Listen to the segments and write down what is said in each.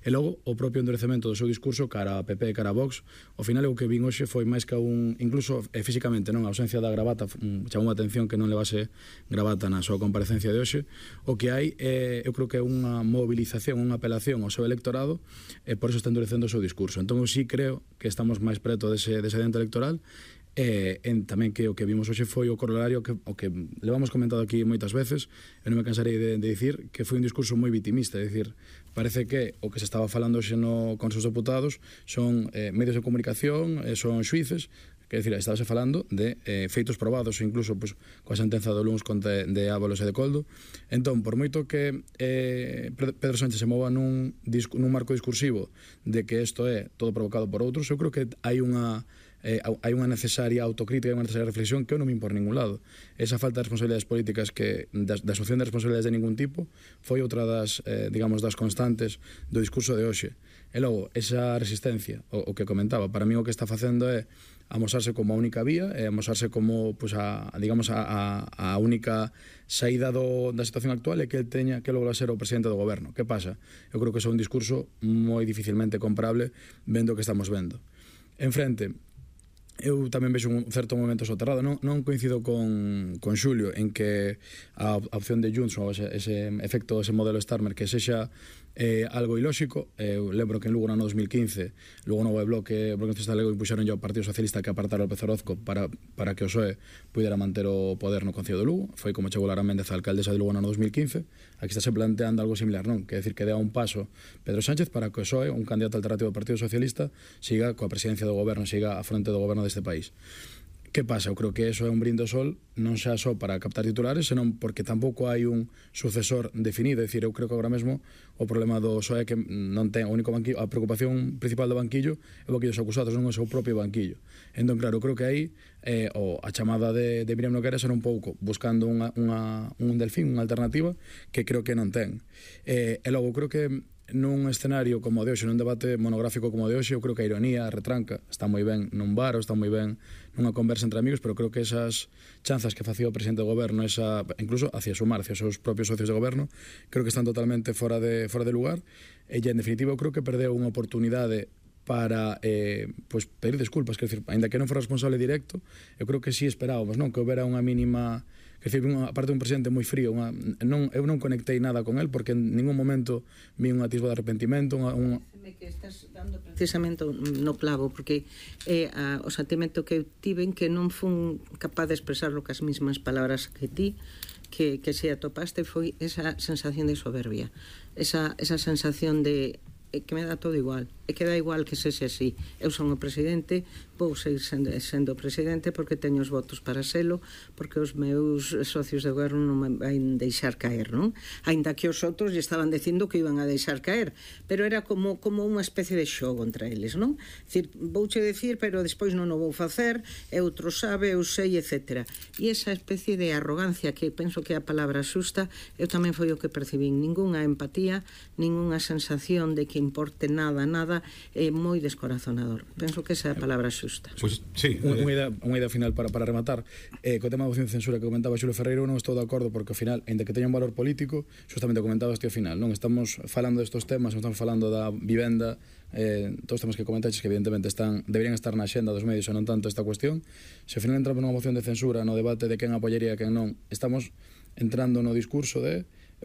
E logo, o propio endurecemento do seu discurso cara a PP e cara a Vox, ao final o que vin hoxe foi máis que incluso físicamente, non, a ausencia da gravata chamou a atención que non levase gravata na súa comparecencia de hoxe. O que hai, eu creo que é unha movilización, unha apelación ao seu electorado, e por eso está endurecendo o seu discurso. Entón, eu sí creo que estamos máis preto dese dente electoral. Tamén que o que vimos hoxe foi o corolario o que levamos comentado aquí moitas veces, e non me cansarei de dicir que foi un discurso moi vitimista. É dicir, parece que o que se estaba falando hoxe con os deputados son medios de comunicación, son xuíces, que decir, estábase falando de feitos probados, incluso pues, coa sentenza do luns de Ábalos e de Coldo. Entón, por moito que Pedro Sánchez se mova nun marco discursivo de que isto é todo provocado por outros, eu creo que hai unha necesaria autocrítica e unha necesaria reflexión que eu non me impor ningún lado. Esa falta de responsabilidades políticas da asunción de responsabilidades de ningún tipo foi outra das constantes do discurso de hoxe. E logo, esa resistencia, o que comentaba, para mí o que está facendo é amosarse como a única vía, e amosarse como a única saída da situación actual, e que el teña que lograr ser o presidente do goberno. Que pasa? Eu creo que é un discurso moi dificilmente comprable vendo o que estamos vendo. En frente, eu tamén vexo un certo momento soterrado. Non coincido con Xulio en que a opción de Junts ou ese efecto, ese modelo Starmer, que sexa algo ilóxico. Eu lembro que en Lugo no ano 2015 Lugo Novo e Bloque Socialista Galego impuxeron ao Partido Socialista que apartara o López Orozco para que o PSOE pudera manter o poder no Concello de Lugo. Foi como chegou Lara Méndez a alcaldesa de Lugo no ano 2015. Aquí está se planteando algo similar, non? Que decir que dea un paso Pedro Sánchez para que o PSOE, un candidato alternativo do Partido Socialista, siga coa presidencia do goberno, siga a fronte do goberno deste país. Que pasa? Eu creo que eso é un brinde ao sol, non xa só para captar titulares, senón porque tampouco hai un sucesor definido. É dicir, eu creo que agora mesmo o problema do PSOE é que non ten o único banquillo, a preocupación principal do banquillo é o banquillo dos acusados, non o seu propio banquillo. Entón, claro, eu creo que aí a chamada de Miriam Nogueras era un pouco buscando un delfín, unha alternativa que creo que non ten. E logo, creo que nun escenario como o de hoxe, nun debate monográfico como o de hoxe, eu creo que a ironía, a retranca está moi ben nun bar ou está moi ben nunha conversa entre amigos, pero creo que esas chanzas que facía o presidente do goberno, incluso hacia sumar, hacia os seus propios socios de goberno, creo que están totalmente fora de lugar. E en definitiva, eu creo que perdeu unha oportunidade para pedir desculpas, que decir, ainda que non fora responsable directo, eu creo que sí esperábamos, non, que houbera unha mínima. Que decir, aparte un presidente moi frío, eu non conectei nada con él porque en ningún momento vi un atisbo de arrepentimento. Que estás dando precisamente no clavo, porque o sentimento que eu tiven que non fun capaz de expresarlo cas mismas palabras que ti, que se atopaste, foi esa sensación de soberbia, esa sensación de que me dá todo igual, e que dá igual que sexe así. Eu son o presidente, vou seguir sendo presidente porque teño os votos para selo, porque os meus socios de goberno non me van deixar caer, non? Ainda que os outros lle estaban dicindo que iban a deixar caer, pero era como unha especie de xogo entre eles, non? Dicir, vouche decir, pero despois non o vou facer, e outro sabe, eu sei, etc. E esa especie de arrogancia, que penso que é a palabra xusta, eu tamén foi o que percibín. Ningunha empatía, ningunha sensación de que importe nada, é moi descorazonador. Penso que esa é a palabra xusta. Pois, sí, unha idea final para rematar. Co tema da moción de censura que comentaba Xulio Ferreiro, non estou de acordo porque ao final, ainda que teña un valor político, justamente comentabas ao final, non estamos falando destos temas, non estamos falando da vivenda, todos os temas que comentaches que evidentemente deberían estar na xenda dos medios e non tanto esta cuestión. Se ao final entramos nunha moción de censura, no debate de quen apoyaría e quen non, estamos entrando no discurso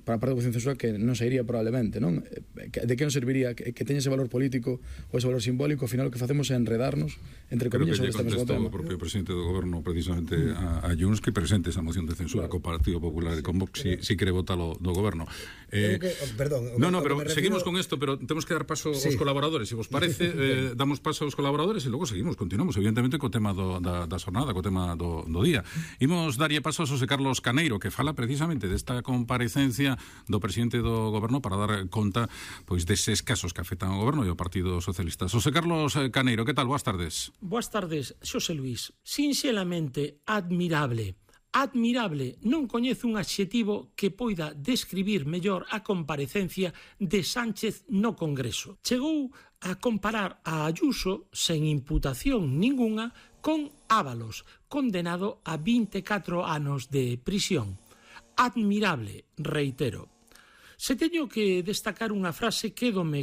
para a parte da moción de censura que non sairía probablemente, non? De que non serviría que teña ese valor político ou ese valor simbólico? Ao final o que facemos é enredarnos entre comillas sobre este mesmo tema. O propio presidente do goberno precisamente a Junts que presente esa moción de censura co Partido Popular e con Vox si quere votalo do goberno. Perdón. Pero seguimos con isto, pero temos que dar paso aos colaboradores. Se vos parece, damos paso aos colaboradores e logo continuamos, evidentemente, co tema da xornada, co tema do día. Imos darlle paso a Xosé Carlos Caneiro, que fala precisamente desta comparecencia do presidente do goberno para dar conta pois deses casos que afectan ao goberno e ao Partido Socialista. Xosé Carlos Caneiro, que tal? Boas tardes. Boas tardes, Xosé Luís. Sinxelamente admirable. Admirable, non coñezo un adxetivo que poida describir mellor a comparecencia de Sánchez no Congreso. Chegou a comparar a Ayuso, sen imputación ningunha, con Ábalos, condenado a 24 anos de prisión. Admirable, reitero. Se teño que destacar unha frase, quédome